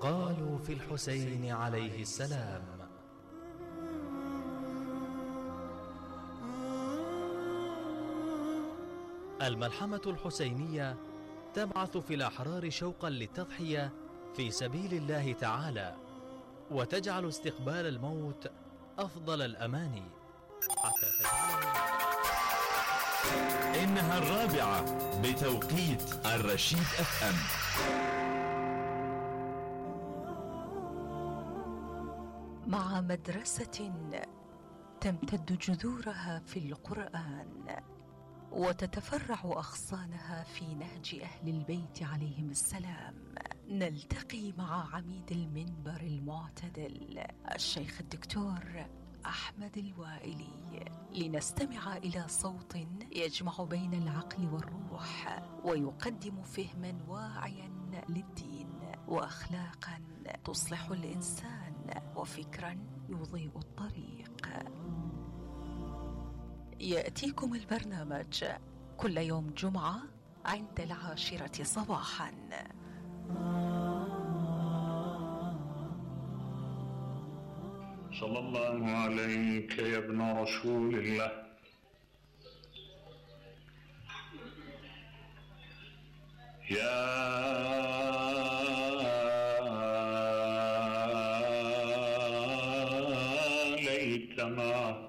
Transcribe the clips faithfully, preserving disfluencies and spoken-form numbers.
قالوا في الحسين عليه السلام. الملحمة الحسينية تبعث في الأحرار شوقا للتضحية في سبيل الله تعالى، وتجعل استقبال الموت أفضل الأماني حتى تجعله. إنها الرابعة بتوقيت الرشيد اف ام. مع مدرسة تمتد جذورها في القرآن وتتفرع أغصانها في نهج أهل البيت عليهم السلام، نلتقي مع عميد المنبر المعتدل الشيخ الدكتور أحمد الوائلي لنستمع إلى صوت يجمع بين العقل والروح ويقدم فهما واعيا للدين وأخلاقا تصلح الإنسان وفكرا يضيء الطريق. يأتيكم البرنامج كل يوم جمعة عند العاشرة صباحا. صلى الله عليك يا ابن رسول الله. يا ليتنا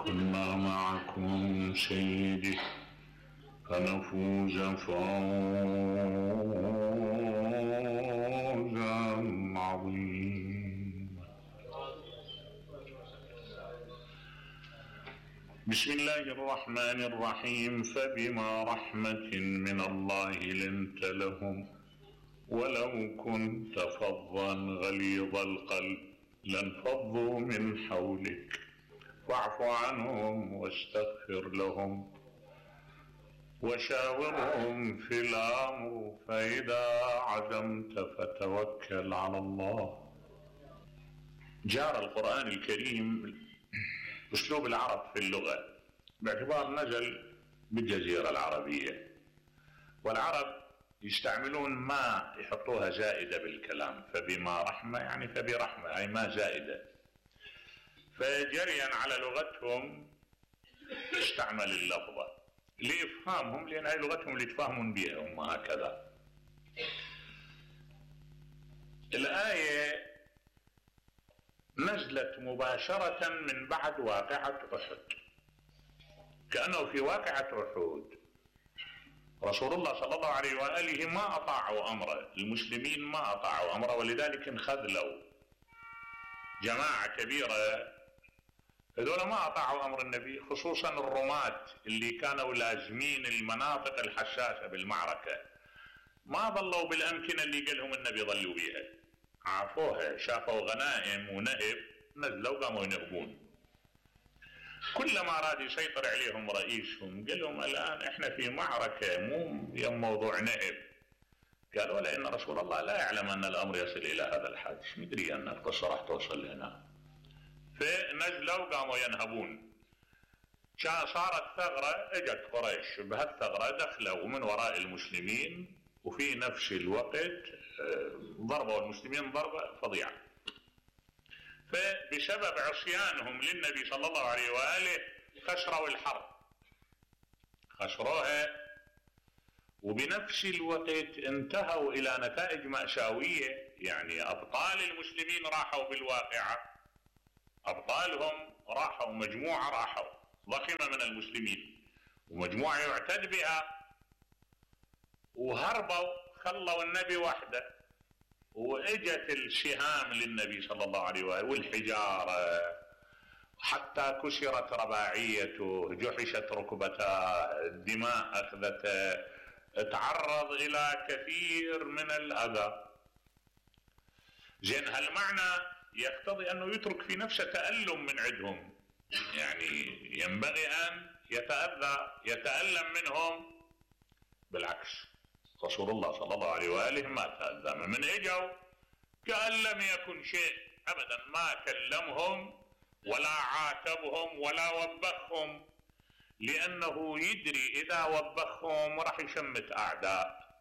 كنا معكم سيدي فنفوز فوزا عظيما. بسم الله الرحمن الرحيم. فبما رحمة من الله لنت لهم ولو كنت فظا غليظ القلب لانفضوا من حولك فاعف عنهم واستغفر لهم وشاورهم في الأمر فإذا عزمت فتوكل على الله. جار القرآن الكريم أسلوب العرب في اللغة باعتبار نزل بالجزيرة العربية، والعرب يستعملون ما يحطوها زائدة بالكلام، فبما رحمة يعني فبرحمة أي ما زائدة، فجريا على لغتهم استعمل اللفظة لإفهامهم، لأن هي لغتهم اللي يتفاهمون بها هم هكذا. الآية نزلت مباشرة من بعد واقعة أحد، كأنه في واقعة أحد رسول الله صلى الله عليه وآله ما أطاعوا أمره، المسلمين ما أطاعوا أمره، ولذلك انخذلوا جماعة كبيرة، هذول ما أطاعوا أمر النبي، خصوصا الرماة اللي كانوا لازمين المناطق الحساسة بالمعركة، ما ظلوا بالأمكنة اللي قالهم النبي ظلوا بيها، عافوها، شافوا غنائم ونهب نزلوا قاموا ينهبون. كلما أراد يسيطر عليهم رئيسهم قال لهم الآن احنا في معركة مو يوم موضوع نهب، قالوا لأن رسول الله لا يعلم أن الأمر يصل إلى هذا الحد، مش مدري أن القصة راح توصل لهنا، فنزلوا قاموا ينهبون. صارت ثغرة، اجت قريش بهالثغرة دخلوا من وراء المسلمين، وفي نفس الوقت ضربوا المسلمين ضربة فظيعة، فبسبب عصيانهم للنبي صلى الله عليه وآله خسروا الحرب، خسروها، وبنفس الوقت انتهوا إلى نتائج مأساوية، يعني أبطال المسلمين راحوا بالواقعة، أبطالهم راحوا، مجموعة راحوا ضخمة من المسلمين ومجموعة يعتد بها، وهربوا خلوا النبي وحده، واجت السهام للنبي صلى الله عليه وآله والحجارة حتى كسرت رباعيته، جحشت ركبتاه، الدماء أخذته، تعرض إلى كثير من الأذى. زين هالمعنى يقتضي أنه يترك في نفسه تألم من عندهم، يعني ينبغي أن يتأذى يتألم منهم، بالعكس رسول الله صلى الله عليه وآله ما تأذى من اجوا كأن لم يكن شيء أبدا، ما كلمهم ولا عاتبهم ولا وبخهم، لأنه يدري إذا وبخهم راح يشمت أعداء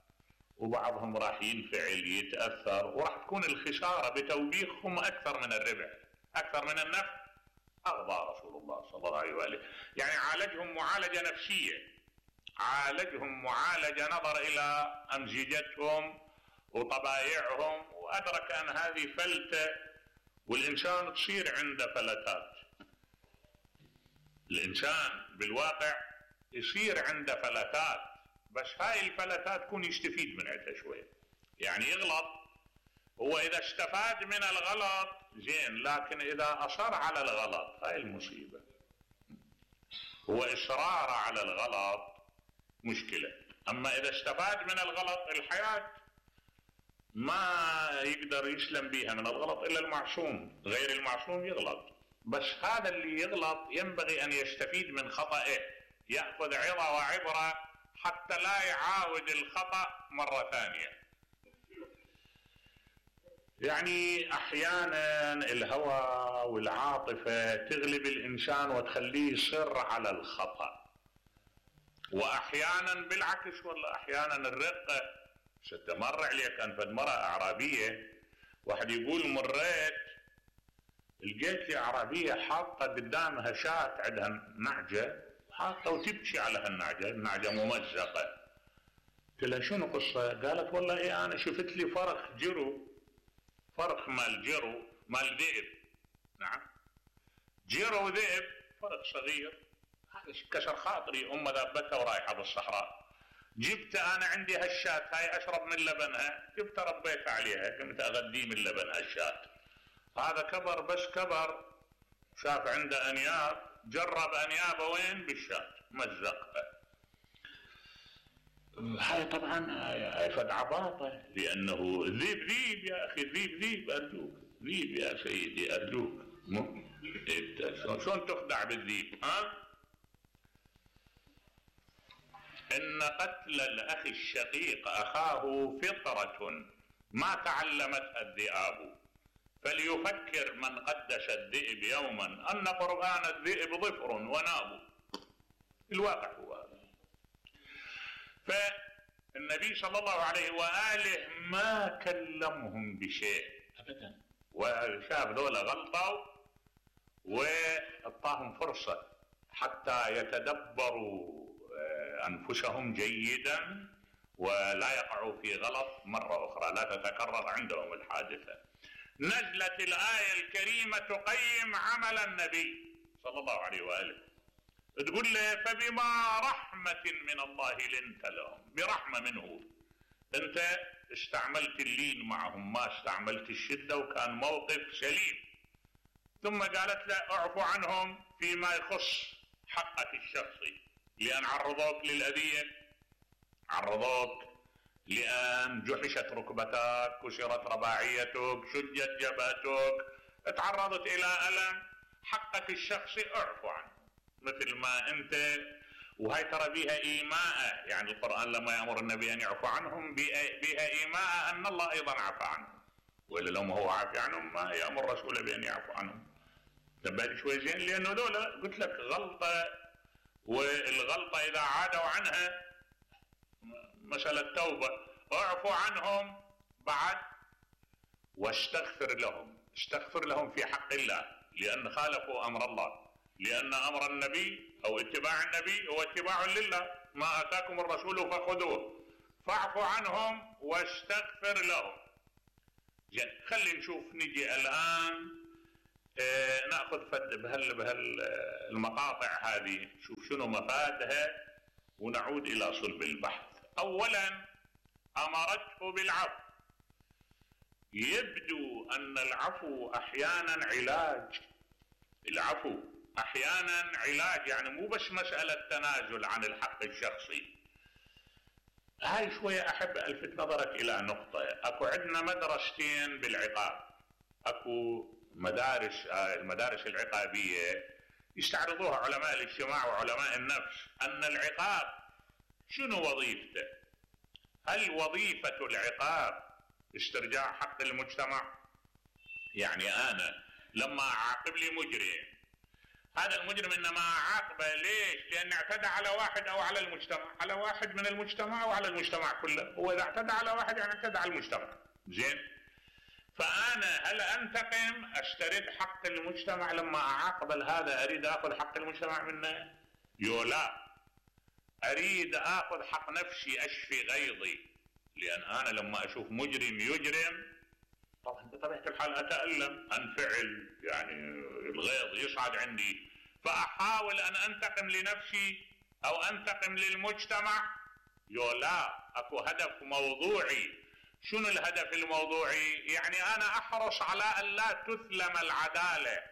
وبعضهم راح ينفعل يتأثر، وراح تكون الخسارة بتوبيخهم أكثر من الربح، أكثر من النفع. أرضى رسول الله صلى الله عليه وآله، يعني عالجهم معالجة نفسية، عالجهم معالجة نظر إلى أمزجتهم وطبائعهم، وأدرك أن هذه فلتة، والإنسان تصير عنده فلتات. الإنسان بالواقع يصير عنده فلتات، بس هاي الفلتات يكون يستفيد من عندها شوية، يعني يغلط. هو إذا استفاد من الغلط زين، لكن إذا أصر على الغلط هاي المصيبة. هو إصرار على الغلط مشكلة، أما إذا استفاد من الغلط الحياة ما يقدر يسلم بيها من الغلط إلا المعصوم، غير المعصوم يغلط. بس هذا اللي يغلط ينبغي أن يستفيد من خطأه، يأخذ عظة وعبرة حتى لا يعاود الخطأ مرة ثانية. يعني أحيانا الهوى والعاطفة تغلب الإنسان وتخليه يصر على الخطأ، وأحيانا بالعكس، والله أحيانا الرقة. ستمر عليك كان فد مرة أعرابية، واحد يقول مريت لقيت لي أعرابية حاطة قدامها شاة عندها نعجة، حاطة وتبكي على هالنعجة، النعجة ممزقة. قلت لها شنو قصة؟ قالت والله إيه أنا شفت لي فرخ جرو، فرخ مال جرو مال ذئب، نعم جرو ذئب، فرخ صغير، هذا كسر خاطري. أم ذابتها ورايحة بالصحراء، جبت أنا عندي هالشاة هاي أشرب من لبنها، جبت ربيت عليها، قمت أغذي من لبن هالشاة. هذا كبر، بس كبر شاف عنده أنياب، جرب أنيابه وين؟ بالشاة، مزقها. هاي طبعا هاي فد عباطة، لأنه ذيب ذيب يا أخي، ذيب ذيب أرجوك، ذيب يا سيدي أرجوك. شلون تخدع بالذيب؟ ها؟ إن قتل الأخ الشقيق أخاه فطرة ما تعلمتها الذئاب، فليفكر من قدس الذئب يوما أن قرآن الذئب ظفر وناب. الواقع هو هذا. فالنبي صلى الله عليه وآله ما كلمهم بشيء أبدا، وشاف ذولا غلطوا وأعطاهم فرصة حتى يتدبروا أنفسهم جيدا ولا يقعوا في غلط مرة أخرى، لا تتكرر عندهم الحادثة. نزلت الآية الكريمة تقيم عمل النبي صلى الله عليه وآله، تقول له فبما رحمة من الله لنت لهم، برحمة منه أنت استعملت اللين معهم، ما استعملت الشدة، وكان موقف سليم. ثم قالت له اعفو عنهم فيما يخص حقك الشخصي، لأن عرضوك للأذية، عرضوك لأن جحشت ركبتك، كسرت رباعيتك، شجت جبهتك، تعرضت إلى ألم. حقك الشخصي اعفو عنه مثل ما أنت. وهي ترى بها إيماء، يعني القرآن لما يأمر النبي أن يعفو عنهم بها إيماء أن الله أيضا عفى عنهم، وإلا لو ما هو عافي عنهم ما يأمر رسوله بأن يعفو عنهم. تبالي شوي زين، لأنه دولة قلت لك غلطة، والغلطة إذا عادوا عنها مسألة توبة. اعفو عنهم بعد واستغفر لهم، استغفر لهم في حق الله، لأن خالفوا أمر الله، لأن أمر النبي أو اتباع النبي هو اتباع لله، ما آتاكم الرسول فخذوه، فاعفو عنهم واستغفر لهم. يعني خلي نشوف، نجي الآن اه نأخذ فد بهال بهالمقاطع هذه، شوف شنو مفادها ونعود إلى صلب البحث. أولا أمرته بالعفو. يبدو أن العفو أحيانا علاج، العفو أحيانا علاج، يعني مو بس مسألة تنازل عن الحق الشخصي. هاي شوية أحب ألفت نظرك إلى نقطة. أكو عندنا مدرستين بالعقاب، أكو مدارس المدارس العقابية يستعرضوها علماء الاجتماع وعلماء النفس، أن العقاب شنو وظيفته؟ هل وظيفة العقاب استرجاع حق المجتمع؟ يعني أنا لما أعاقب لي مجرم، هذا المجرم إنما أعاقبه ليش؟ لأن اعتدى على واحد أو على المجتمع، على واحد من المجتمع أو على المجتمع كله. هو إذا اعتدى على واحد يعني اعتدى على المجتمع. زين؟ فأنا هل أنتقم أسترد حق المجتمع لما أعاقب هذا أريد أخذ حق المجتمع منه؟ يو لا، أريد أخذ حق نفسي أشفي غيظي، لأن أنا لما أشوف مجرم يجرم طبعا بطبيعة الحال أتألم، أنفعل، يعني الغيظ يصعد عندي، فأحاول أن أنتقم لنفسي أو أنتقم للمجتمع. يو لا، أكو هدف موضوعي. شنو الهدف الموضوعي؟ يعني أنا أحرص على أن لا تثلم العدالة،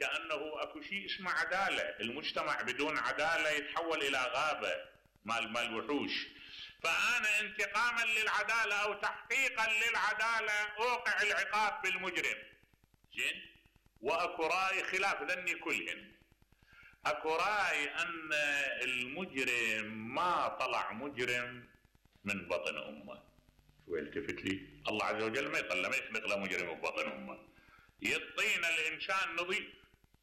كأنه أكو شيء اسمه عدالة. المجتمع بدون عدالة يتحول إلى غابة مال مال وحوش. فأنا انتقاما للعدالة أو تحقيقا للعدالة أوقع العقاب بالمجرم. زين؟ وأكو رأي خلاف ذني كلهن. أكو رأي أن المجرم ما طلع مجرم من بطن أمه. شو التفت لي؟ الله عز وجل ما يطلع، ما يخلق له مجرم ببطن أمه. يعطينا الإنسان نظيف،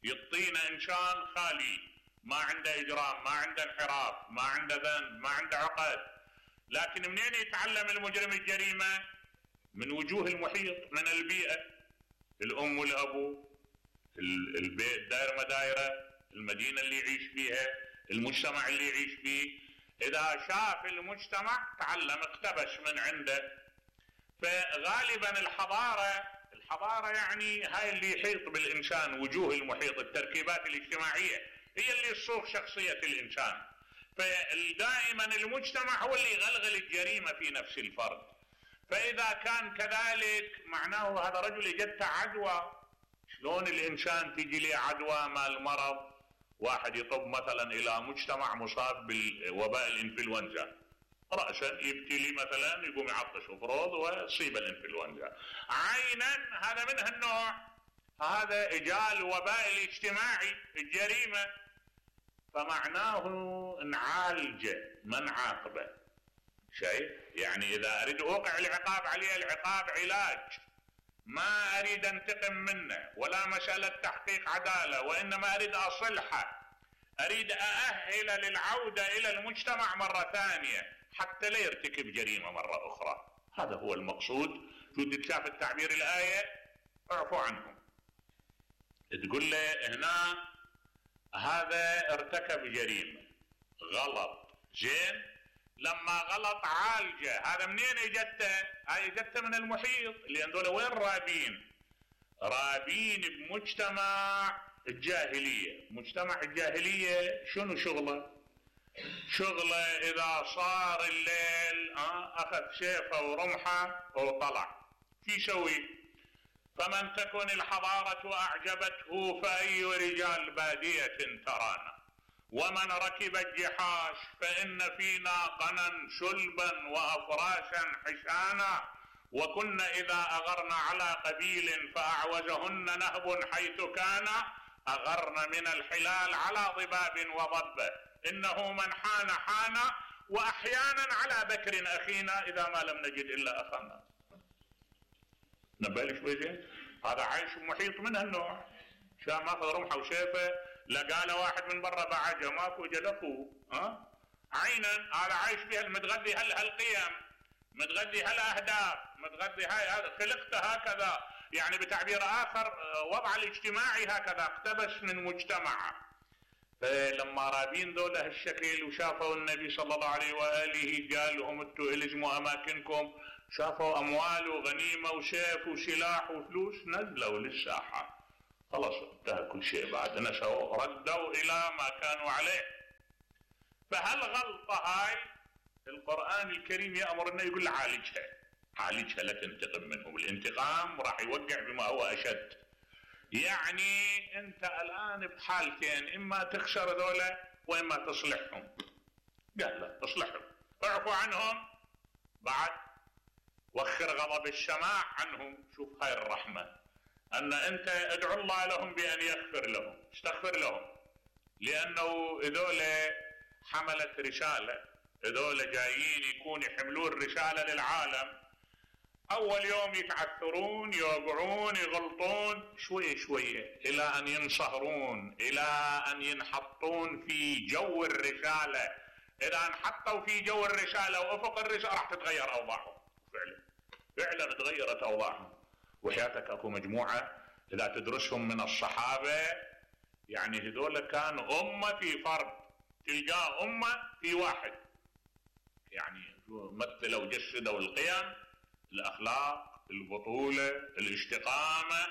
يعطينا إنسان خالي، ما عنده إجرام، ما عنده انحراف، ما عنده ذنب، ما عنده عقد. لكن منين يتعلم المجرم الجريمة؟ من وجوه المحيط، من البيئة، الأم والأبو، البيت، دائرة ما دائرة، المدينة اللي يعيش فيها، المجتمع اللي يعيش فيه. إذا شاف المجتمع تعلم، اقتبس من عنده. فغالبا الحضارة الحضارة يعني هاي اللي يحيط بالإنسان، وجوه المحيط، التركيبات الاجتماعية هي اللي تصوغ شخصية الإنسان. فدائما المجتمع هو اللي يغلغل الجريمة في نفس الفرد. فإذا كان كذلك معناه هذا رجل اجته عدوى. شلون الإنسان تيجي له عدوى مال مرض؟ واحد يطب مثلا إلى مجتمع مصاب بالوباء الإنفلونزا، رأسا يبتلي مثلا يقوم يعطش افرض ويصيب الإنفلونزا. عينا هذا من هالنوع، هذا إجاء الوباء الاجتماعي، الجريمة. فمعناه نعالجه ما نعاقبه. شايف؟ يعني إذا أريد أوقع العقاب عليه، العقاب علاج، ما أريد أنتقم منه ولا مسألة تحقيق عدالة، وإنما أريد أصلحه، أريد أأهل للعودة إلى المجتمع مرة ثانية حتى لا يرتكب جريمة مرة أخرى. هذا هو المقصود. شو تتشاف التعبير الآية؟ اعفوا عنهم. تقول له هنا هذا ارتكب جريمة، غلط. زين؟ لما غلط عالجه. هذا منين اجته؟ هاي اجته من المحيط، لان دول وين رابين؟ رابين بمجتمع الجاهلية. مجتمع الجاهلية شنو شغله؟ شغله إذا صار الليل اه أخذ سيفه ورمحه وطلع. شو يسوي؟ فمن تكن الحضارة أعجبته فأي رجال بادية ترانا، ومن ركب الجحاش فإن فينا قنا شلبا وأفراشا حشانا، وكنا إذا أغرنا على قبيل فأعوزهن نهب حيث كان، أغرن من الحلال على ضباب وضبة، إنه من حان حان، وأحيانا على بكر أخينا إذا ما لم نجد إلا أخانا. نبالي شوي زين؟ هذا عايش محيط من هالنوع. شام ماخذ رمحه وسيفه، لقى له واحد من برا بعجه ماكو وجد اخوه. ها؟ عينا هذا عايش بها، متغذي هالقيم، متغذي هالاهداف، متغذي هاي هذا خلقته هكذا. يعني بتعبير اخر وضع الاجتماعي هكذا، اقتبس من مجتمعه. فلما رابين ذولا هالشكل وشافوا النبي صلى الله عليه واله قال لهم انتم الزموا اماكنكم، شافوا اموال وغنيمه وسيف وسلاح وفلوس، نزلوا للساحه. خلاص انتهى كل شيء، بعد نسوا ردوا الى ما كانوا عليه. فهالغلطه هاي القران الكريم يامرنا يقول عالجها، عالجها لا تنتقم منهم. الانتقام راح يوقع بما هو اشد. يعني انت الان بحالتين، اما تخسر ذولا واما تصلحهم. قال لا تصلحهم، اعفوا عنهم، بعد وخر غضب السماع عنهم. شوف هاي الرحمه، ان انت ادعو الله لهم بان يغفر لهم، استغفر لهم، لانه هذول حملت رساله، هذول جايين يكون يحملون رساله للعالم. اول يوم يتعثرون، يوقعون، يغلطون شوية شوية الى ان ينصهرون، الى ان ينحطون في جو الرسالة. اذا انحطوا في جو الرسالة وافق الرسالة راح تتغير اوضاعهم. فعلا فعلا تغيرت اوضاعهم. وحياتك اكو مجموعة اذا تدرسهم من الصحابة، يعني هذول كانوا امة في فرد، تلقاه امة في واحد، يعني مثلوا وجسدوا القيم، الاخلاق، البطولة، الاستقامة.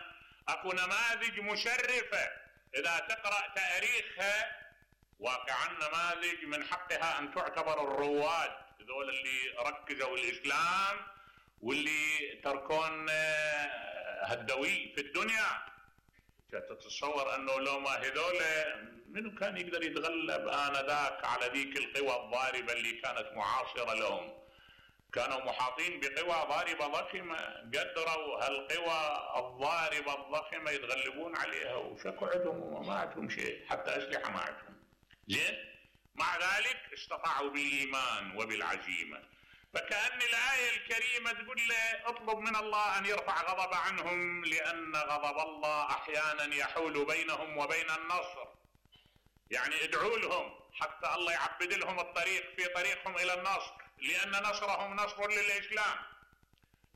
اكو نماذج مشرفة اذا تقرأ تاريخها واقعا، نماذج من حقها ان تعتبر الرواد، هذول اللي ركزوا الاسلام واللي تركون هالدوي في الدنيا. تتصور انه لو ما هذول منو كان يقدر يتغلب انذاك على ذيك القوى الضاربة اللي كانت معاصرة لهم؟ كانوا محاطين بقوى ضاربة ضخمة، قدروا هالقوى الضاربة الضخمة يتغلبون عليها، وشكوا عندهم وما عندهم شيء، حتى أسلحة ما عندهم. زين، مع ذلك استطاعوا بالإيمان وبالعزيمة. فكأن الآية الكريمة تقول له اطلب من الله أن يرفع غضب عنهم، لأن غضب الله أحيانا يحول بينهم وبين النصر. يعني ادعوا لهم حتى الله يعبد لهم الطريق في طريقهم إلى النصر، لأن نصرهم نصر للإسلام.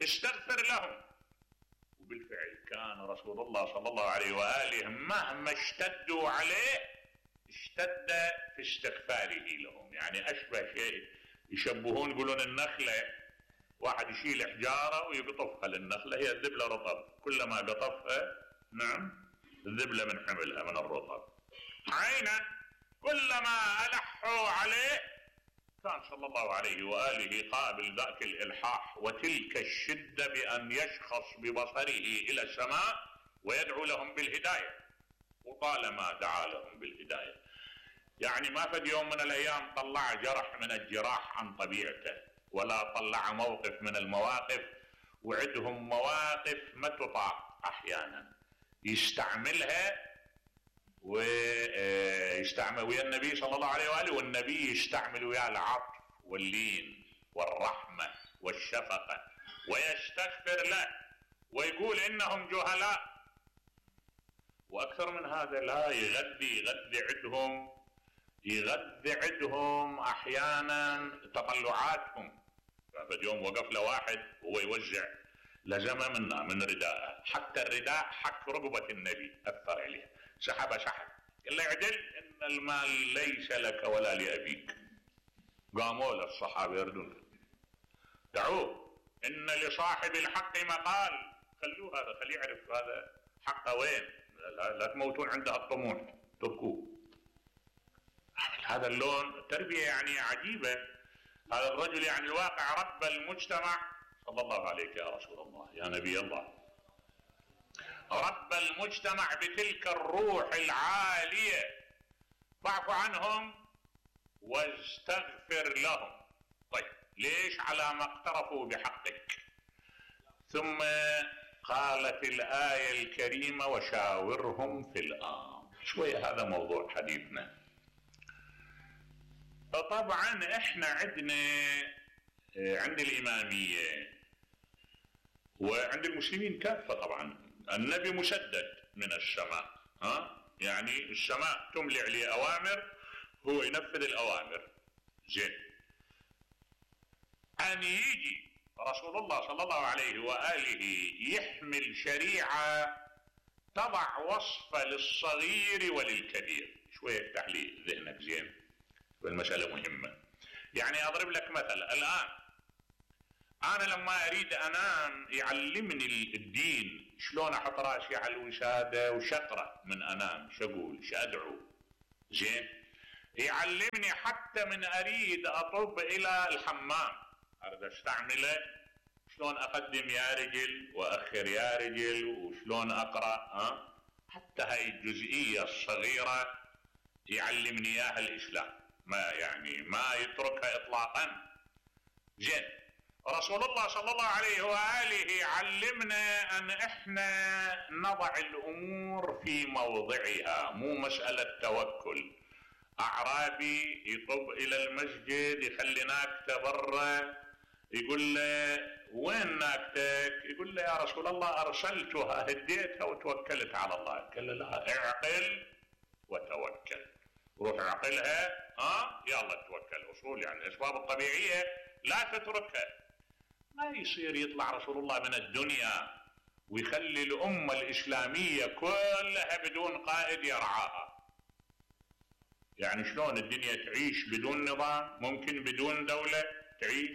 استغفر لهم. وبالفعل كان رسول الله صلى الله عليه وآله مهما اشتدوا عليه اشتد في استغفاره لهم. يعني أشبه شيء يشبهون، يقولون النخلة واحد يشيل حجارة ويقطفها للنخلة، هي الذبلة رطب، كلما قطفها نعم الذبلة من حملها من الرطب. عينا كلما ألحوا عليه كان صلى الله عليه وآله قابل ذاك الإلحاح وتلك الشدة بأن يشخص ببصره إلى السماء ويدعو لهم بالهداية، وطالما دعا لهم بالهداية. يعني ما فد يوم من الأيام طلع جرح من الجراح عن طبيعته، ولا طلع موقف من المواقف، وعندهم مواقف ما تطاق أحيانا يستعملها ويستعمل ويا النبي صلى الله عليه وآله، والنبي يستعمل ويا العطف واللين والرحمة والشفقة، ويستغفر له ويقول إنهم جهلاء. وأكثر من هذا لا يغذي يغذي عندهم يغذي عندهم أحيانا تطلعاتهم. فاليوم وقف له واحد وهو يوزع لزمة منا من رداءه، حتى الرداء حك رقبة النبي أثر عليه، سحب سحب، قال له اعدل إن المال ليس لك ولا لأبيك. قاموا الصحابة يردون، دعوه إن لصاحب الحق مقال، خلوه هذا، خليه يعرف هذا حقه وين، لا, لا تموتون عنده الطموح، تركوه. هذا اللون تربية يعني عجيبة. هذا الرجل يعني الواقع رب المجتمع. صلى الله عليك يا رسول الله يا نبي الله. رب المجتمع بتلك الروح العالية، فاعف عنهم واستغفر لهم. طيب ليش؟ على ما اقترفوا بحقك. ثم قالت الآية الكريمة وشاورهم في الأمر. شوية هذا موضوع حديثنا. طبعا احنا عندنا عند الإمامية وعند المسلمين كافة طبعا النبي مسدد من السماء، ها يعني السماء تملي عليه أوامر، هو ينفذ الأوامر. زين، أن يجي رسول الله صلى الله عليه وآله يحمل شريعة تضع وصفة للصغير وللكبير. شوية تحليل ذهنك زين، والمسألة مهمة. يعني أضرب لك مثل، الآن أنا لما أريد أنام يعلمني الدين شلون أحط راسي على الوسادة وشقرأ من أنام، شقول شأدعو. زين، يعلمني حتى من أريد أطب إلى الحمام أريد أستعمله شلون أقدم يا رجل وأخر يا رجل وشلون أقرأ، ها حتى هاي الجزئية الصغيرة يعلمني إياها الإسلام، ما يعني ما يتركها إطلاقا. زين، رسول الله صلى الله عليه وآله علمنا أن إحنا نضع الأمور في موضعها، مو مسألة توكل. أعرابي يطب إلى المسجد يخلي ناكته برا يقول له وين ناقتك؟ يقول له يا رسول الله ارسلتها هديتها وتوكلت على الله. قال له لا، اعقل وتوكل، روح اعقلها ها يلا توكل. اصول يعني الاسباب الطبيعيه لا تتركها. ما يصير يطلع رسول الله من الدنيا ويخلي الامه الاسلاميه كلها بدون قائد يرعاها. يعني شلون الدنيا تعيش بدون نظام؟ ممكن بدون دوله تعيش؟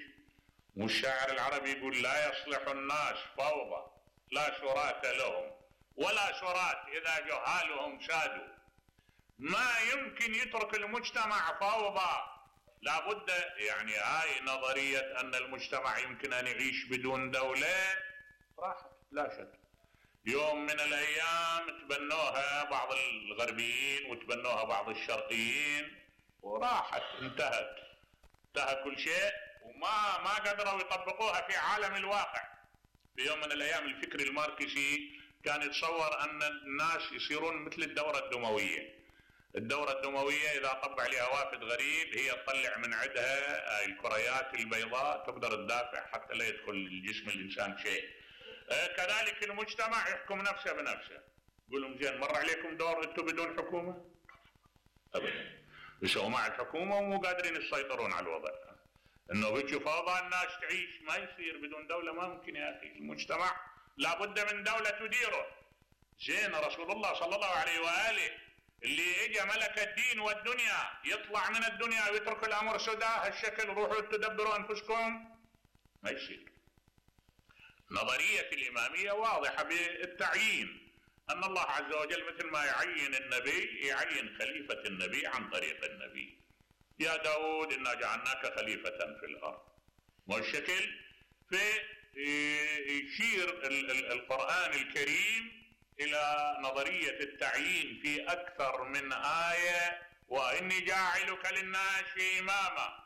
والشاعر العربي يقول لا يصلح الناس فوضى لا شرات لهم ولا شرات اذا جهالهم سادوا. ما يمكن يترك المجتمع فوضى، لابد. يعني هاي نظرية ان المجتمع يمكن ان يعيش بدون دولة راحت لا شك. يوم من الايام تبنوها بعض الغربيين وتبنوها بعض الشرقيين وراحت، انتهت انتهى كل شيء، وما ما قدروا يطبقوها في عالم الواقع. في يوم من الايام الفكر الماركسي كان يتصور ان الناس يصيرون مثل الدورة الدموية. الدورة الدموية اذا طب عليها وافد غريب هي تطلع من عندها الكريات البيضاء تقدر تدافع حتى لا يدخل الجسم الانسان شيء. كذلك المجتمع يحكم نفسه بنفسه. يقول لهم زين مر عليكم دور انتم بدون حكومة؟ ابدا. يسووا مع الحكومة ومو قادرين يسيطرون على الوضع. انه بيجي فوضى الناس تعيش، ما يصير بدون دولة، ما ممكن يا اخي. المجتمع لابد من دولة تديره. زين رسول الله صلى الله عليه واله اللي اجى ملك الدين والدنيا يطلع من الدنيا ويترك الامر سدى هالشكل، روحوا تدبروا انفسكم، ما يصير. نظرية الامامية واضحة بالتعيين، ان الله عز وجل مثل ما يعين النبي يعين خليفة النبي عن طريق النبي. يا داود إنا جعلناك خليفة في الأرض. والشكل في يشير القرآن الكريم إلى نظرية التعيين في أكثر من آية. وإني جاعلك للناس إماما،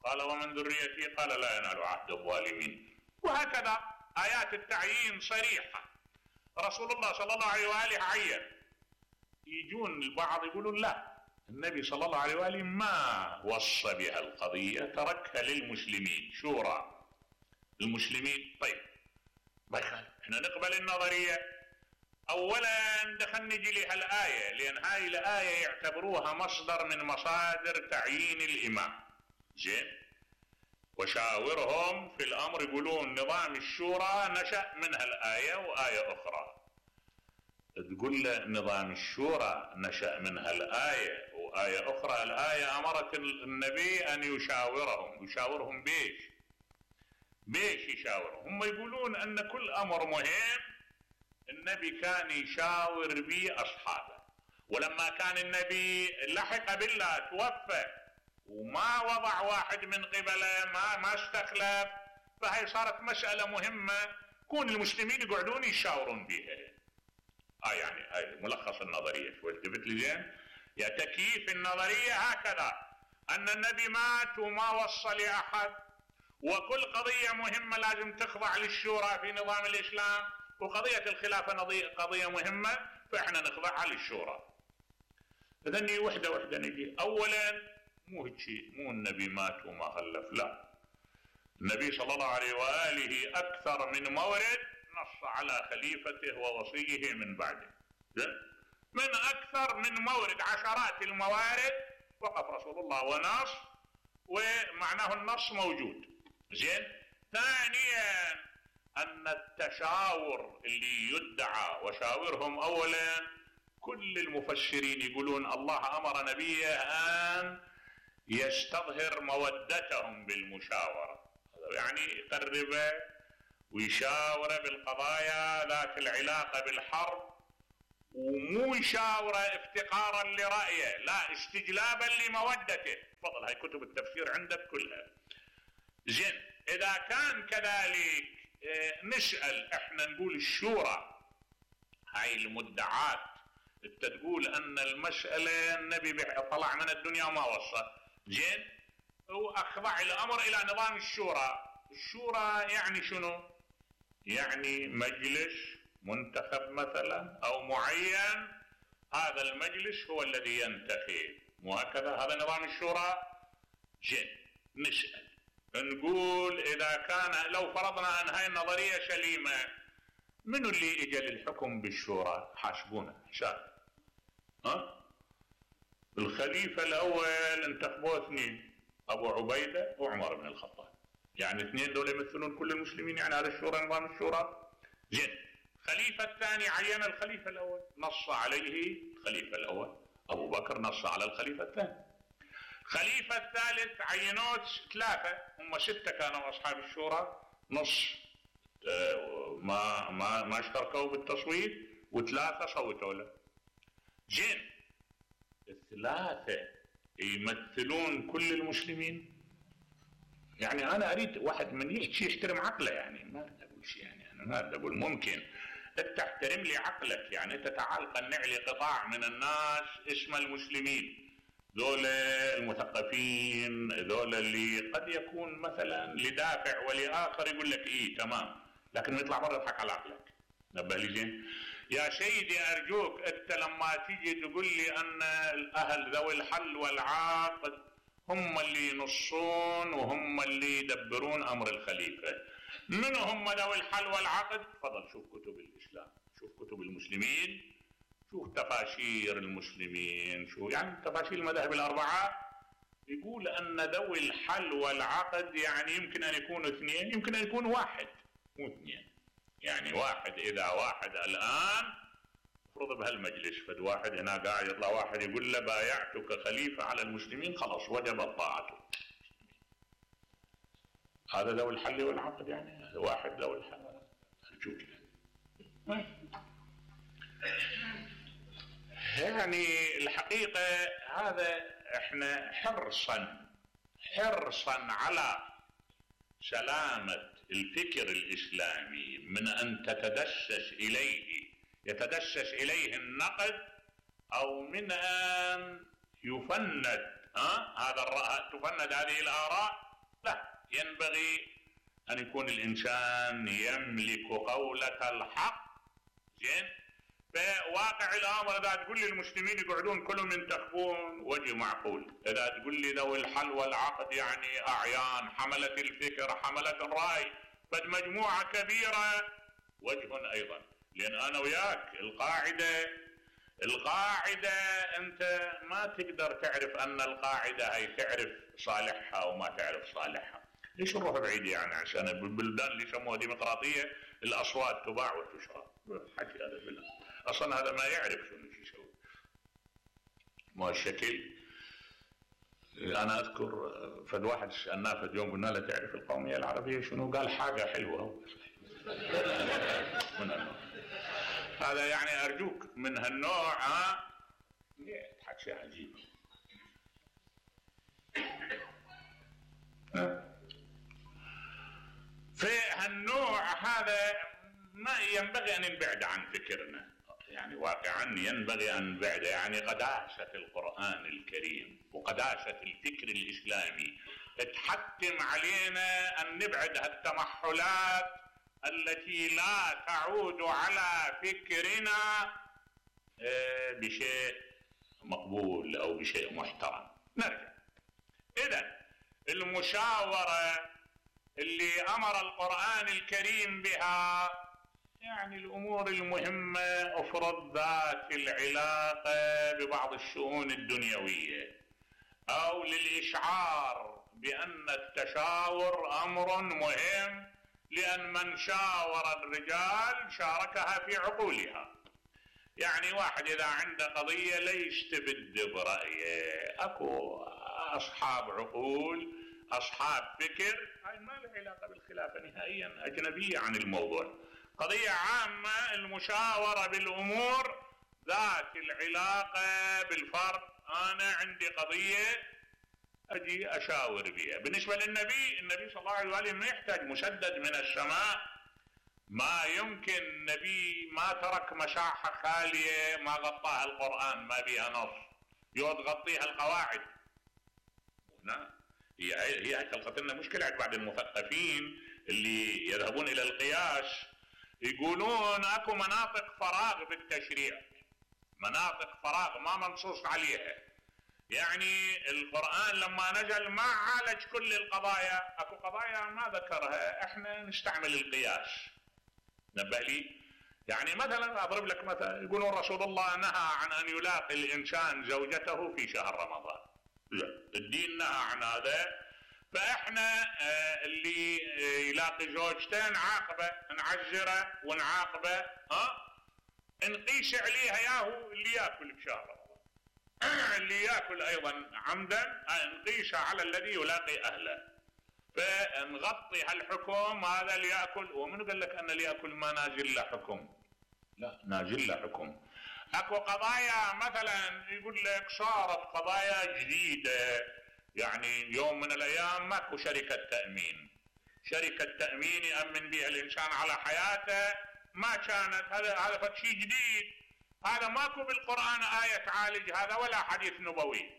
قال ومن ذريتي قال لا ينال عهد الظالمين. وهكذا آيات التعيين صريحة. رسول الله صلى الله عليه وآله عين. يجون البعض يقولون لا، النبي صلى الله عليه وآله ما وصى بها القضية، تركها للمسلمين، شورى المسلمين. طيب ما يخالف، احنا نقبل النظرية. اولا دخلنا نجي لها الآية، لأن هاي الآية يعتبروها مصدر من مصادر تعيين الإمام. زين، وشاورهم في الأمر، يقولون نظام الشورى نشأ منها الآية وآية أخرى. تقول له نظام الشورى نشأ منها الآية وآية أخرى. الآية أمرت النبي أن يشاورهم. يشاورهم بيش؟ بيش يشاورهم؟ هم يقولون أن كل أمر مهم النبي كان يشاور به أصحابه. ولما كان النبي لحق بالله توفى وما وضع واحد من قبله، ما ما استخلف، فهي صارت مسألة مهمة كون المسلمين يقعدون يشاورون بها. آه يعني هاي ملخص النظرية. شوي التفت لي زين؟ يا تكييف النظرية هكذا، أن النبي مات وما وصى لأحد، وكل قضية مهمة لازم تخضع للشورى في نظام الإسلام، وقضية الخلافة قضية مهمة فإحنا نخضعها للشورى. إذن وحدة وحدة نجي. أولا مو هيك، مو النبي مات وما خلف، لا. النبي صلى الله عليه وآله أكثر من مورد نص على خليفته ووصيه من بعده. من أكثر من مورد، عشرات الموارد وقف رسول الله ونص، ومعناه النص موجود. زين. ثانيا أن التشاور اللي يدعى وشاورهم، أولا كل المفسرين يقولون الله أمر نبيه أن يستظهر مودتهم بالمشاورة، يعني يقربه ويشاوره بالقضايا ذات العلاقة بالحرب، ومو يشاوره افتقارا لرأيه، لا استجلابا لمودته. تفضل هاي كتب التفسير عندك كلها. زين، إذا كان كذلك نسأل احنا نقول الشورى هاي المدعات، انت تقول ان المسألة النبي طلع من الدنيا وما وصى. زين، واخضع الامر الى نظام الشورى. الشورى يعني شنو؟ يعني مجلس منتخب مثلا او معين، هذا المجلس هو الذي ينتخب، مو هكذا؟ هذا نظام الشورى. زين، نسأل نقول اذا كان لو فرضنا ان هاي النظرية سليمة، منو اللي اجى للحكم بالشورى؟ حاسبونا حساب. ها؟ الخليفة الاول انتخبوه اثنين، ابو عبيدة وعمر بن الخطاب، يعني اثنين دول يمثلون كل المسلمين، يعني هذا الشورى نظام الشورى. زين، الخليفة الثاني عين الخليفة الاول، نص عليه الخليفة الاول، ابو بكر نص على الخليفة الثاني. الخليفة الثالث عينوه ثلاثة، هم ستة كانوا اصحاب الشورى، نص ما ما ما اشتركوا بالتصويت وثلاثة صوتوا له. زين، الثلاثة يمثلون كل المسلمين؟ يعني انا اريد واحد من يحكي يحترم عقله، يعني ما اريد اقول شيء، يعني انا ما اريد اقول ممكن انت تحترم لي عقلك، يعني انت تعال قنع لي قطاع من الناس اسم المسلمين، ذول المثقفين، ذول اللي قد يكون مثلا لدافع ولاخر يقول لك ايه تمام، لكن يطلع برا يضحك على عقلك. نبه لي زين يا سيدي، ارجوك انت لما تيجي تقول لي ان الاهل ذوي الحل والعقد هم اللي ينصون وهم اللي يدبرون امر الخليفه، من هم ذوي الحل والعقد؟ تفضل شوف كتب الاسلام، شوف كتب المسلمين، شوف تفاسير المسلمين، شو يعني تفاسير المذاهب الاربعه، يقول ان ذوي الحل والعقد يعني يمكن ان يكونوا اثنين، يمكن ان يكون واحد مو اثنين، يعني واحد اذا واحد الان افرض بهالمجلس فد واحد هنا قاعد يطلع واحد يقول له بايعتك خليفه على المسلمين، خلاص وجبت طاعته. هذا ذوي الحل والعقد، يعني هذا واحد ذوي الحل والعقد. يعني الحقيقه هذا احنا حرصا حرصا على سلامه الفكر الاسلامي من ان تتدسس اليه يتدسس اليه النقد، او من ان يفند ها هذا الرأي، تفند هذه الاراء. لا، ينبغي ان يكون الانسان يملك قولة الحق. زين، فواقع الامر اذا تقول لي المسلمين يقعدون كلهم ينتخبون وجه معقول، اذا تقول لي ذوي الحل والعقد يعني اعيان حملة الفكر حملة الراي، فد مجموعة كبيرة وجه ايضا. لان انا وياك القاعدة القاعدة انت ما تقدر تعرف ان القاعدة هي تعرف صالحها وما تعرف صالحها. ليش نروح بعيد يعني عشان البلدان اللي يسموها ديمقراطية الاصوات تباع وتشرى؟ حكي هذا بالله، اصلا هذا ما يعرف شنو شو يسوي. ما الشكل. انا اذكر فد واحد سالناه فد يوم قلنا له تعرف القومية العربية شنو؟ قال حاجة حلوة. من النوع هذا يعني ارجوك من هالنوع ها يضحك شيء عجيب. في هالنوع هذا ما ينبغي ان نبعد عن فكرنا، يعني واقعا ينبغي ان نبعد، يعني قداسة القرآن الكريم وقداسة الفكر الاسلامي تحتم علينا ان نبعد هالتمحلات التي لا تعود على فكرنا بشيء مقبول او بشيء محترم. نرجع اذا المشاورة اللي امر القرآن الكريم بها، يعني الامور المهمة افرض ذات العلاقة ببعض الشؤون الدنيوية، او للاشعار بان التشاور امر مهم، لأن من شاور الرجال شاركها في عقولها. يعني واحد إذا عنده قضية لا يستبد برأيه، أكو أصحاب عقول أصحاب فكر، هاي ما له علاقة بالخلافة نهائيا، أجنبية عن الموضوع. قضية عامة المشاورة بالأمور ذات العلاقة بالفرد. أنا عندي قضية أجي أشاور بها. بالنسبة للنبي، النبي صلى الله عليه وآله ما يحتاج مسدد من السماء، ما يمكن النبي ما ترك مساحة خالية ما غطاها القرآن ما بها نص يود غطيها القواعد. هنا هي هي خلقت لنا مشكلة بعد المثقفين اللي يذهبون إلى القياس، يقولون أكو مناطق فراغ بالتشريع، مناطق فراغ ما منصوص عليها. يعني القرآن لما نزل ما عالج كل القضايا، اكو قضايا ما ذكرها، احنا نستعمل القياس. نبه لي يعني مثلا اضرب لك مثلا، يقولون رسول الله نهى عن ان يلاقي الانسان زوجته في شهر رمضان. لا، الدين نهى عن هذا. فاحنا اللي يلاقي زوجته نعاقبه، نعزره ونعاقبه، ها نقيس عليها ياهو اللي ياكل بشهر رمضان. اللي ياكل ايضا عمدا نقيسها على الذي يلاقي اهله، فنغطي هالحكم. هذا اللي ياكل، ومن قال لك ان اللي ياكل ما نازل له حكم؟ لا، نازل له حكم. اكو قضايا مثلا يقول لك صارت قضايا جديده، يعني يوم من الايام ماكو شركه تامين، شركه تامين يامن بها الانسان على حياته، ما كانت. هذا هذا فد شيء جديد، هذا ماكو بالقران ايه تعالج هذا ولا حديث نبوي.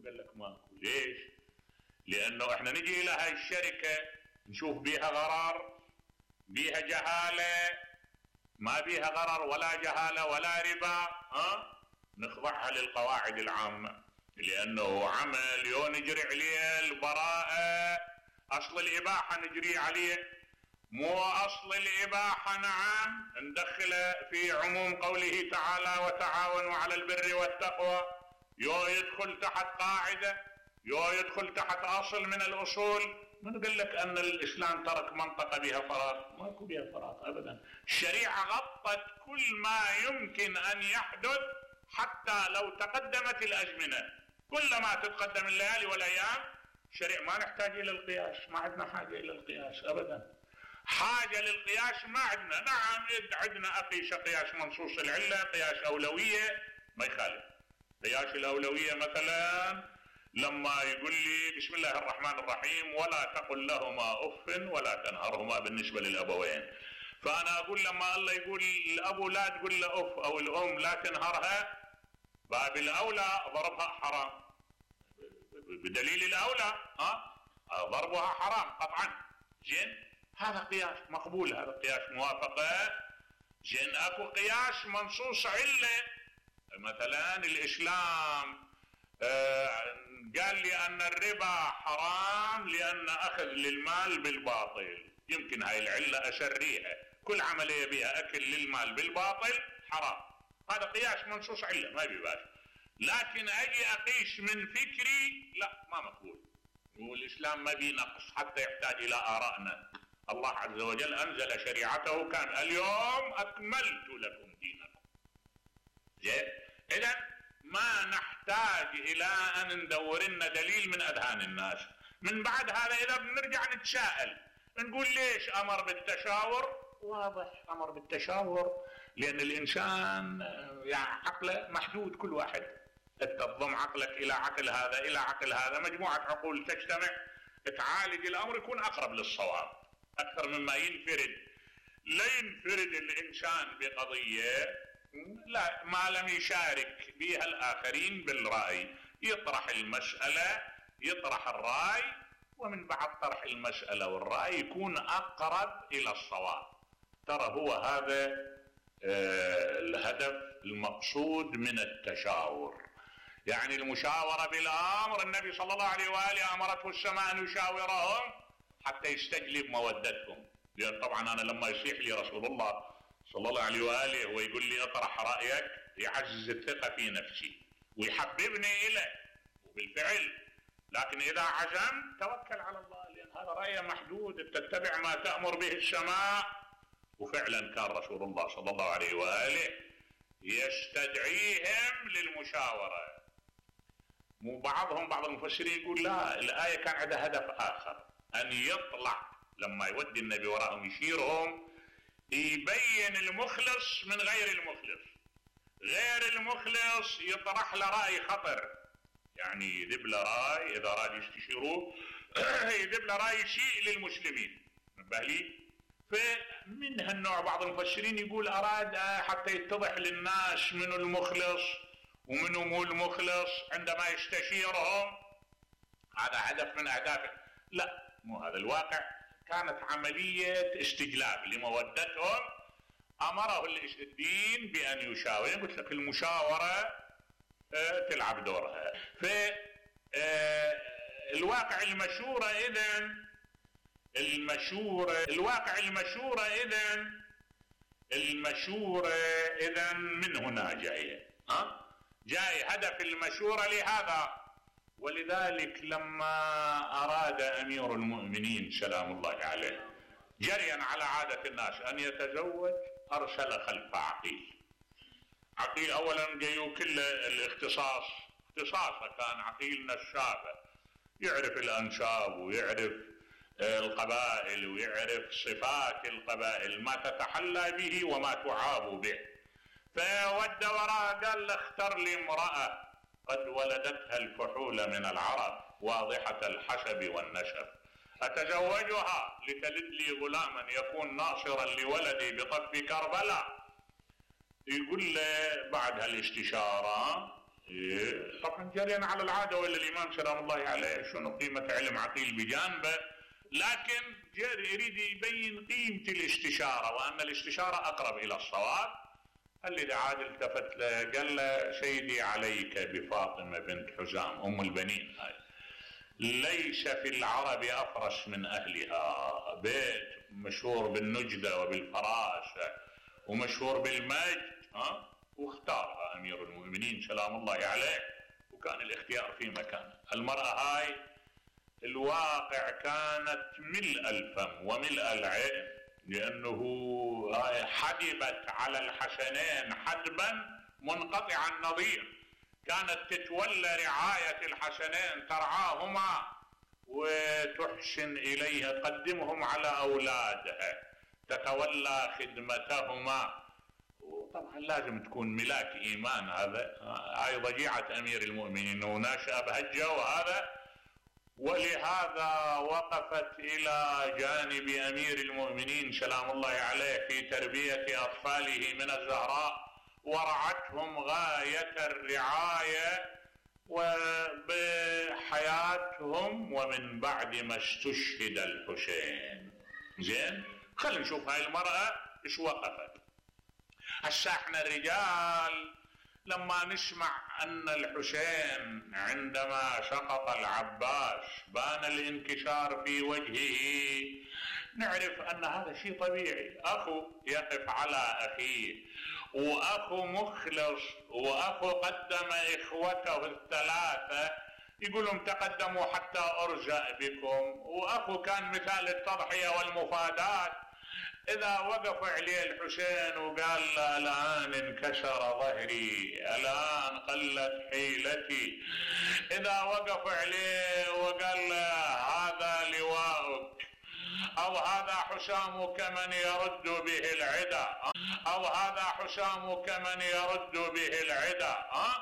قال لك ماكو. ليش؟ لانه احنا نجي الى هاي الشركه نشوف بيها غرر، بيها جهاله، ما بيها غرر ولا جهاله ولا ربا، ها نخضعها للقواعد العامه، لانه عمل يو نجري عليه البراءه، اصل الاباحه نجري عليه، مو اصل الاباحه نعم ندخله في عموم قوله تعالى وتعاونوا على البر والتقوى، يو يدخل تحت قاعده، يو يدخل تحت اصل من الاصول. من قال لك ان الاسلام ترك منطقه بها فراغ؟ ماكو بها فراغ ابدا. الشريعه غطت كل ما يمكن ان يحدث، حتى لو تقدمت الازمنه، كلما تتقدم الليالي والايام الشريعه ما نحتاج الى القياس، ما عندنا حاجه الى القياس ابدا. حاجه للقياس ما عندنا. نعم عندنا اقيس قياس منصوص العله، قياس اولويه ما يخالف. قياس الاولويه مثلا لما يقول لي بسم الله الرحمن الرحيم ولا تقل لهما اف ولا تنهرهما بالنسبه للابوين، فانا اقول لما الله يقول الابو لا تقول له اف او الام لا تنهرها، باب الاولى ضربها حرام بدليل الاولى، ها ضربها حرام قطعا. زين، هذا قياس مقبول، هذا قياس موافقه. زين، اكو قياس منصوص عله، مثلا الاسلام آه قال لي ان الربا حرام لان اخذ للمال بالباطل، يمكن هاي العله اشريها، كل عمليه بها اكل للمال بالباطل حرام، هذا قياس منصوص عله ما بيباش. لكن اجي اقيس من فكري لا، ما مقبول. والاسلام ما بي نقص حتى يحتاج الى ارائنا. الله عز وجل انزل شريعته كان اليوم اكملت لكم دينكم. زين، اذا ما نحتاج الى ان ندور لنا دليل من اذهان الناس. من بعد هذا اذا بنرجع نتساءل نقول ليش امر بالتشاور؟ واضح امر بالتشاور لان الانسان يعني عقله محدود، كل واحد تضم عقلك الى عقل هذا الى عقل هذا، مجموعه عقول تجتمع تعالج الامر يكون اقرب للصواب اكثر مما ينفرد. لا ينفرد الانسان بقضيه لا ما لم يشارك بها الآخرين بالرأي، يطرح المسألة يطرح الرأي، ومن بعد طرح المسألة والرأي يكون أقرب إلى الصواب. ترى هو هذا آه الهدف المقصود من التشاور، يعني المشاورة بالأمر. النبي صلى الله عليه وآله أمرته السماء أن يشاورهم حتى يستجلب مودتهم، لأن طبعا أنا لما يصيح لي رسول الله صلى الله عليه وآله ويقول لي اطرح رأيك يعزز الثقة في نفسي ويحببني إليه، وبالفعل. لكن إذا عزم توكل على الله، لأن هذا رأي محدود، تتبع ما تأمر به السماء. وفعلا كان رسول الله صلى الله عليه وآله يستدعيهم للمشاورة. مو بعضهم بعض المفسرين يقول لا، الآية كان عندها هدف آخر، أن يطلع لما يودي النبي وراءهم يشيرهم يبين المخلص من غير المخلص. غير المخلص يطرح له رأي خطر، يعني يذب له رأي إذا راد يستشيروه يذب له رأي يسيء للمسلمين. نبه لي، فمن هالنوع بعض المفسرين يقول أراد حتى يتضح للناس منو المخلص ومنو مو المخلص عندما يستشيرهم، هذا هدف من أهدافه. لا، مو هذا الواقع، كانت عملية استجلاب لمودتهم. أمره الدين بأن يشاور. قلت لك المشاورة تلعب دورها. ف الواقع المشورة إذن المشورة الواقع المشورة إذن المشورة إذن من هنا جاية، ها جاي هدف المشورة لهذا. ولذلك لما أراد أمير المؤمنين سلام الله عليه جريا على عادة الناس أن يتزوج أرسل خلف عقيل. عقيل أولا جايو كل الاختصاص اختصاصه كان عقيل نشابه، يعرف الأنساب ويعرف القبائل ويعرف صفات القبائل ما تتحلى به وما تعاب به. فود وراه قال له اختر لي امرأة قد ولدتها الفحول من العرب واضحة الحسب والنسب، أتزوجها لتلد لي غلاما يكون ناصرا لولدي بطف كربلاء. يقول له بعد هالاستشارة إيه طبعا جريا على العادة ولا الإمام سلام الله عليه شنو قيمة علم عقيل بجانبه، لكن يريد يبين قيمة الاستشارة وأن الاستشارة أقرب إلى الصواب. اللي عاد التفت له قال له سيدي عليك بفاطمة بنت حزام أم البنين، هاي ليس في العرب أفرس من أهلها، بيت مشهور بالنجدة وبالفراسة ومشهور بالمجد، ها واختارها أمير المؤمنين سلام الله عليه، وكان الاختيار في مكانه. المرأة هاي الواقع كانت ملء الفم وملء العين، لأنه حدبت على الحسنين حدبا منقطع النظير، كانت تتولى رعاية الحسنين ترعاهما وتحسن إليها، تقدمهم على أولادها، تتولى خدمتهما. وطبعا لازم تكون ملاك إيمان، هذا هاي ضجيعة أمير المؤمنين وناشأ بهالجو هذا. ولهذا وقفت إلى جانب أمير المؤمنين سلام الله عليه في تربية أطفاله من الزهراء، ورعتهم غاية الرعاية وبحياتهم ومن بعد ما استشهد الحسين. زين، خلينا نشوف هاي المرأة ايش وقفت. هسه احنا الرجال لما نسمع أن الحسين عندما سقط العباس بان الانكسار في وجهه نعرف أن هذا شيء طبيعي، أخو يقف على أخيه، وأخو مخلص، وأخو قدم إخوته الثلاثة يقولون تقدموا حتى أرزق بكم، وأخو كان مثال التضحية والمفادات. إذا وقف عليه الحسين وقال له الآن انكسر ظهري، الآن قلت حيلتي، إذا وقف عليه وقال له هذا لواءك، أو هذا حسامك من يرد به العدا، أو هذا حسامك من يرد به العدا، أه؟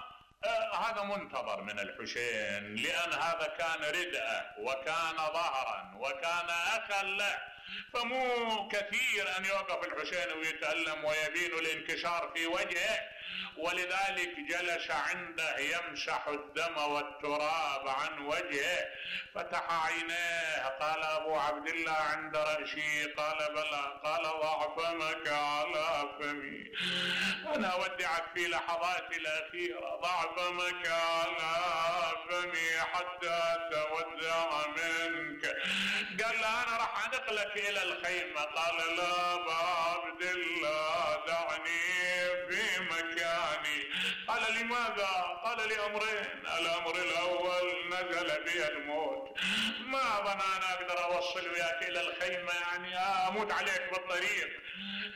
أه هذا منتظر من الحسين، لأن هذا كان ردءه وكان ظهرا وكان أخا له، فمو كثير أن يوقف الحسين ويتألم ويبين الانكسار في وجهه. ولذلك جلس عنده يمسح الدم والتراب عن وجهه، فتح عينيه، قال أبو عبد الله عند رأسي؟ قال بلى. قال ضع فمك على فمي، أنا أودعك في لحظاتي الأخيرة، ضع فمك على فمي حتى أتودع منك. قال له أنا راح أنقلك إلى الخيمة. قال لا أبا عبد الله دعني في مكاني. قال لماذا؟ قال لأمرين، الأمر الأول نزل بي الموت، ما ظن أنا أقدر أوصل وياك إلى الخيمة، يعني أموت عليك بالطريق.